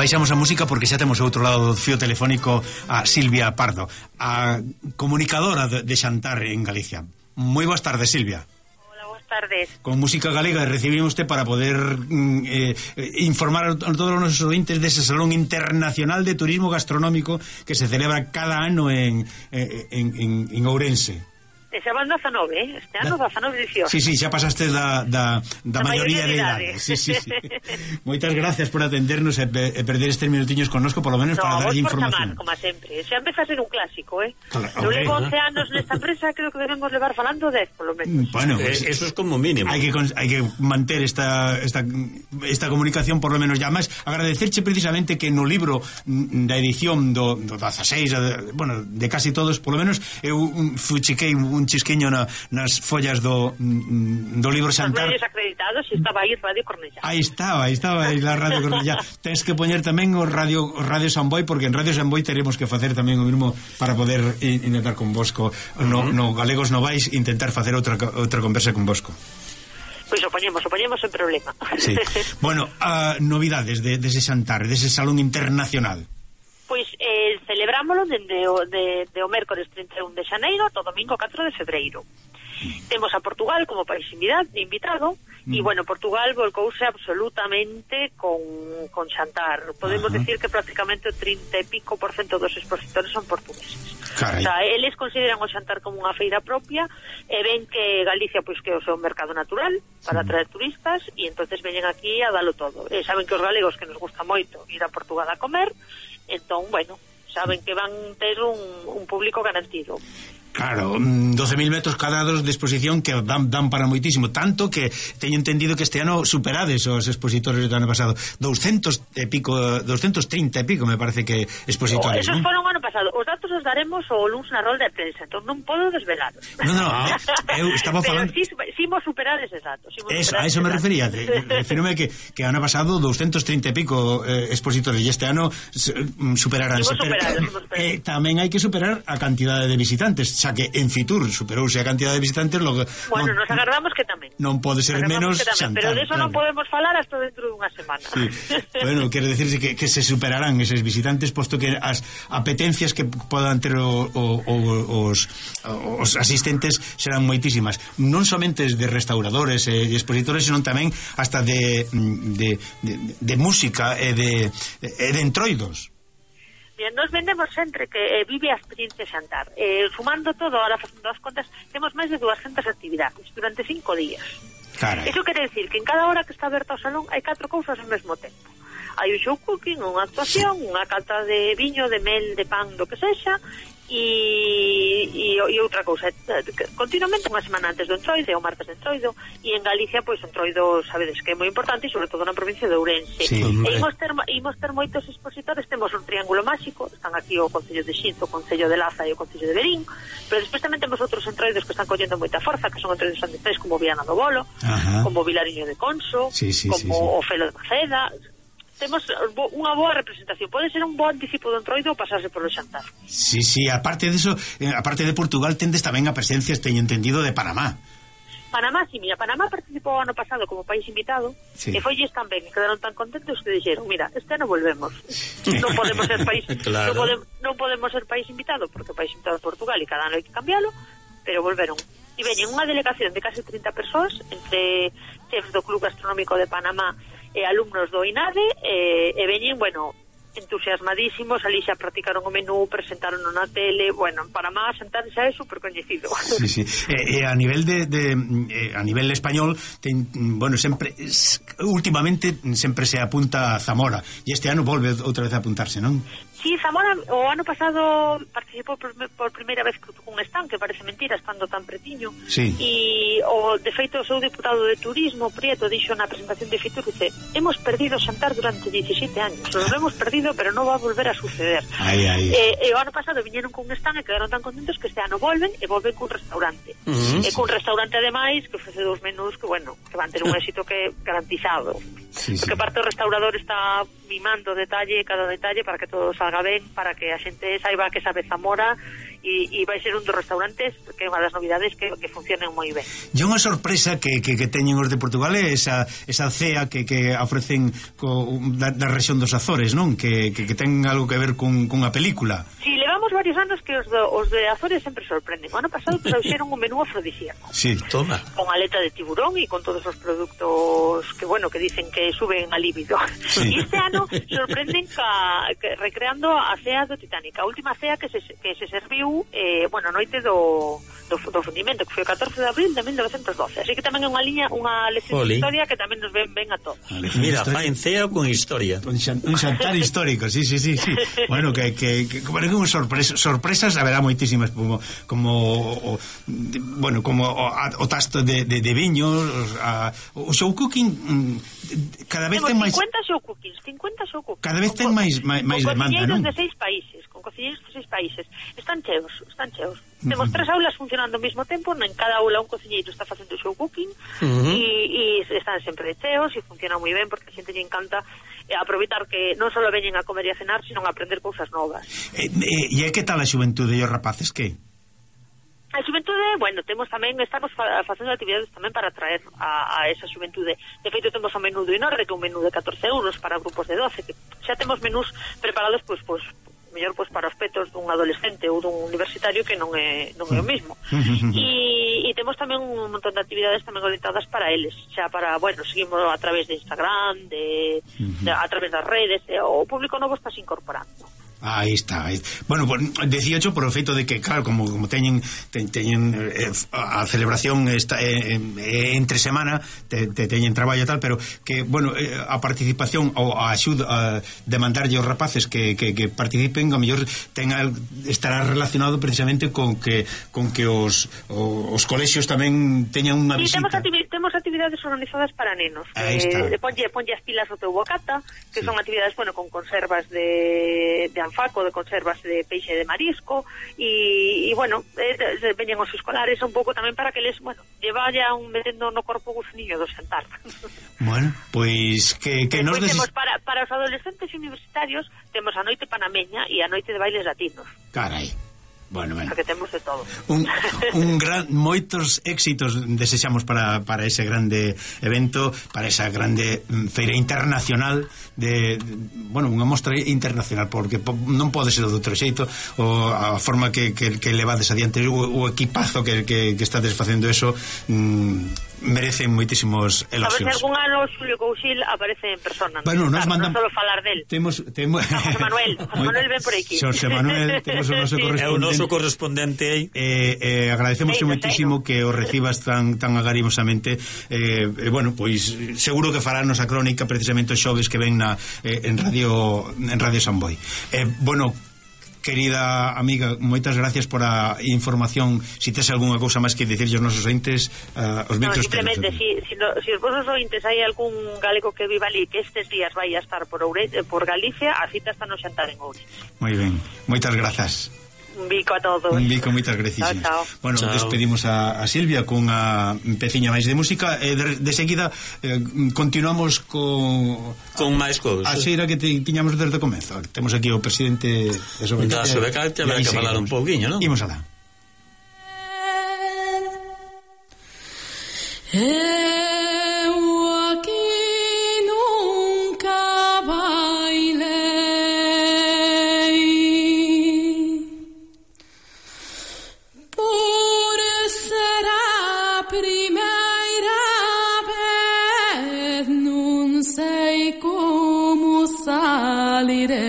baixamos a música porque xa temos ao outro lado do fío telefónico a Silvia Pardo, a comunicadora de Xantar en Galicia. Moi boas tardes, Silvia. Tardes. Con música galega recibimos usted para poder informar a todos os nosos ointes dese Salón Internacional de Turismo Gastronómico que se celebra cada ano en Ourense. Esa van 19, este ano 19 edición. Sí, xa pasaste da maioría de idade. Sí. Moitas gracias por atendernos e perder estes minutiños connosco, por lo menos para darlle información. Como sempre. Xa empeza a ser un clásico, Claro, eu levo 11 anos nesta empresa, creo que debemos levar falando 10, por lo menos. Bueno, eso es como mínimo. Hai que manter esta comunicación, por lo menos. Ya máis, agradecerche precisamente que no libro da edición do 16, de casi todos, por lo menos, eu fuchiquei un chisquiño nas follas do libro Xantar. Os medios acreditados, estaba aí Radio Cornellá. Aí estaba la Radio Cornellá. Tens que poñer tamén o Radio Samboy, porque en Radio Samboy teremos que facer tamén o mesmo para poder intentar con vosco no Galegos Novais, intentar facer outra conversa con vosco. Pois o poñemos sen problema. Sí. Bueno, novidades dese Xantar, dese Salón Internacional. Pois celebrámoslo dende o mércores 31 de xaneiro ata o domingo 4 de febreiro. Temos a Portugal como país invitado e, Portugal volcouse absolutamente con Xantar. Podemos decir que prácticamente o 30 e pico % dos expositores son portugueses. Carai. O sea, eles consideran o Xantar como unha feira propia e ven que Galicia pois que é o seu mercado natural para atraer turistas e entonces veñen aquí a dalo todo. E saben que os galegos que nos gusta moito ir a Portugal a comer, entón, saben que van ter un público garantido. Claro, 12.000 metros cuadrados de exposición que dan para moitísimo, tanto que teño entendido que este ano superades os expositores do ano pasado, 230 e pico me parece que expositores. Esos foron o ano pasado. Os datos os daremos o luns na rolda de prensa, entón non podo desvelaros. Eu estaba falando. Pero si imos superar eses datos. A eso me refería. Refírome que ano pasado 230 e pico expositores e este ano superaránse. Tamén hai que superar a cantidade de visitantes, xa que en Fitur superouse a cantidade de visitantes. Nos agardamos que tamén. Non pode ser menos Xantar. Pero de eso non podemos falar hasta dentro dunha semana. Sí. Bueno, quero decirse que se superarán eses visitantes, posto que as apetencias que podan ter os asistentes serán moitísimas, non somente de restauradores e expositores, senón tamén hasta de música e de entroidos. Bien, nos vendemos sempre que vive a experiencia Xantar. Sumando todo, ahora facendo as contas, temos máis de 200 actividades durante 5 días. Carai. Eso quere decir que en cada hora que está aberto o salón hai 4 cousas ao mesmo tempo. Hai un show cooking, unha actuación, unha cata de viño, de mel, de pan, do que sexa, e outra cousa. Continuamente, unha semana antes do Entroido, o martes de Entroido, e en Galicia, pois, o Entroido, sabedes que é moi importante, e sobre todo na provincia de Ourense. Sí, e imos ter moitos expositores. Temos un triángulo máxico, están aquí o Concello de Xinzo, o Concello de Laza e o Concello de Verín, pero despois tamén temos outros entroidos que están collendo moita forza, que son entroidos anditais como Viana do Bolo, como Vilariño de Conso, como o Felo de Maceda. Temos unha boa representación. Pode ser un bo anticipo do Entroido ou pasarse polo Xantar. Sí, aparte de eso, aparte de Portugal, tendes tamén a presencia, teño entendido, de Panamá. Panamá, sí, mira, Panamá participou ano pasado como país invitado, e foilles tan ben, e quedaron tan contentos que dixeron, mira, este ano volvemos. Non podemos ser país claro. non podemos ser país invitado, porque o país invitado é Portugal e cada ano hai que cambiálo, pero volveron. E veñen unha delegación de casi 30 persoas, entre chefs do Club Gastronómico de Panamá e alumnos do INADE, e veñen, entusiasmadísimos, ali xa practicaron o menú, presentaron na tele, en Panamá Xantar xa é super coñecido. Sí. E a nivel a nivel español, sempre últimamente sempre se apunta a Zamora, e este ano volve outra vez a apuntarse, non? Sí, Zamora o ano pasado participou por primeira vez cun stand, que parece mentira, estando tan pretiño. Sí. E de feito o seu diputado de turismo, Prieto, dixo na presentación de Fitur, dice, hemos perdido Xantar durante 17 años, lo hemos perdido, pero non va a volver a suceder. E o ano pasado viñeron cun stand e quedaron tan contentos que este ano volven cun restaurante. E cun restaurante ademais que ofrece 2 menús que van ter un éxito que garantizado. porque parte o restaurador está mimando cada detalle para que todo salga ben, para que a xente saiba que sabe Zamora, e vai ser un dos restaurantes que é unha das novidades que funcionen moi ben. E unha sorpresa que teñen os de Portugal é esa cea que ofrecen da rexión dos Azores, non? Que ten algo que ver cunha película. Si, levamos varios anos que os de Azores sempre sorprenden. O ano pasado trouxeron un menú afrodisíaco. Sí, toma. Con aleta de tiburón e con todos os produtos que dicen que suben a líbido. Sí. E este ano sorprenden recreando a cea do Titanic, a última cea que se serviu a noite do fundimento, que foi o 14 de abril de 1912. Así que tamén é unha lección de historia que tamén nos ven ben a todos. Mira, faen cea con historia. Un xantar histórico, sí. Bueno, que sorpresas haberá moitísimas, como o tasto de viños, o show cooking cada vez ten máis 50 show cookings. Cada vez ten máis demanda, non? Con cociñeiros de 6 países. Están cheos. Temos 3 aulas funcionando ao mesmo tempo, en cada aula un cociñeiro está facendo show cooking, e están sempre cheos e funciona moi ben, porque a xente lle encanta aproveitar que non só veñen a comer e a cenar, sino a aprender cousas novas. E que tal a xuventude e os rapaces, que? A xuventude, estamos facendo actividades tamén para atraer a esa xuventude. De feito, temos o menú do Inorre, que é un menú de 14 euros para grupos de 12, que xa temos menús preparados mellor para os petos dun adolescente ou dun universitario, que non é o mismo. E temos tamén un montón de actividades tamén orientadas para eles, xa para, seguimos a través de Instagram, a través das redes, o público novo está se incorporando. Aí está. Bueno, decíacho por o feito de que, claro, como teñen a celebración entre semana, teñen traballo e tal, pero que, a participación ou a axuda de mandarlle aos rapaces que participen, a mellor estará relacionado precisamente con que os colexios tamén teñan unha visita. Temos actividades organizadas para nenos. Ponlle as pilas ao teu bocata, que son actividades, con conservas de anfaco, de conservas de peixe de marisco, e veñen os escolares un pouco tamén para que les, vayan metendo no corpo o gusaniño do xantar. Bueno, pois que nos temos para os adolescentes universitarios, temos a noite panameña e a noite de bailes latinos. Carai. Bueno. Porque temos de todo. Moitos éxitos desexamos para ese grande evento, para esa grande feira internacional unha mostra internacional, porque non pode ser de outro xeito, a forma que levades adiante o equipazo que estades facendo eso, merecen moitísimos elogios. A ver se algún ano Xulio Couchil aparece en persona. Bueno, nos mandan, non solo falar del. José Manuel ven por aquí. José Manuel, temos o noso correspondente. É o noso correspondente aí. Agradecemos moitísimo que o recibas tan agarimosamente. Pois seguro que fará a crónica precisamente os xoves que ven en Radio Samboy. Querida amiga, moitas gracias por a información. Si tes algunha cousa máis que dicirlle aos nosos ointes, os micros. Simplemente, si os vosos ointes hai algún galego que viva ali, que estes días vai a estar por Galicia, a cita está no xantar en Ourense. Moi ben, moitas grazas. Un bico a todos. Un bico, moitas gracias. Chao. Chao. Despedimos a Silvia con a peciña máis de música, e de seguida continuamos con máis cousas. A xeira que tiñamos desde o comezo. Temos aquí o presidente da Sobecal, que habrá que falar un pouquiño, non? Imos alá. Non sei como salire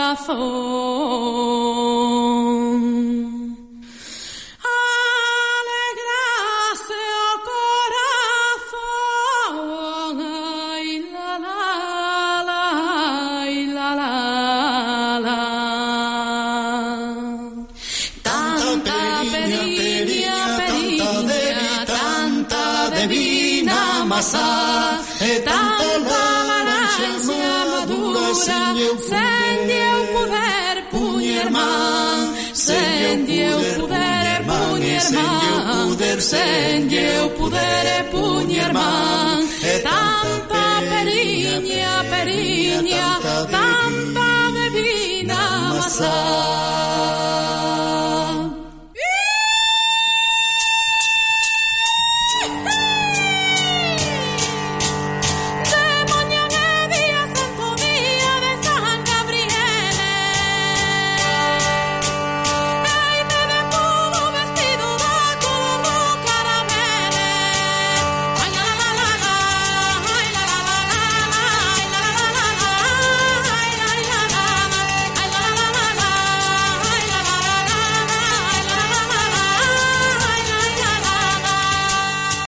corazón. Alegrase o corazón, ay, la, la, la, ay, la, la, la. Tanta periña, tanta divina masa, tanta laranxa madura, sen eu poder puñer man, sen eu poder puñer man, sen eu poder puñer man. Tanta periña, tanta divina masa.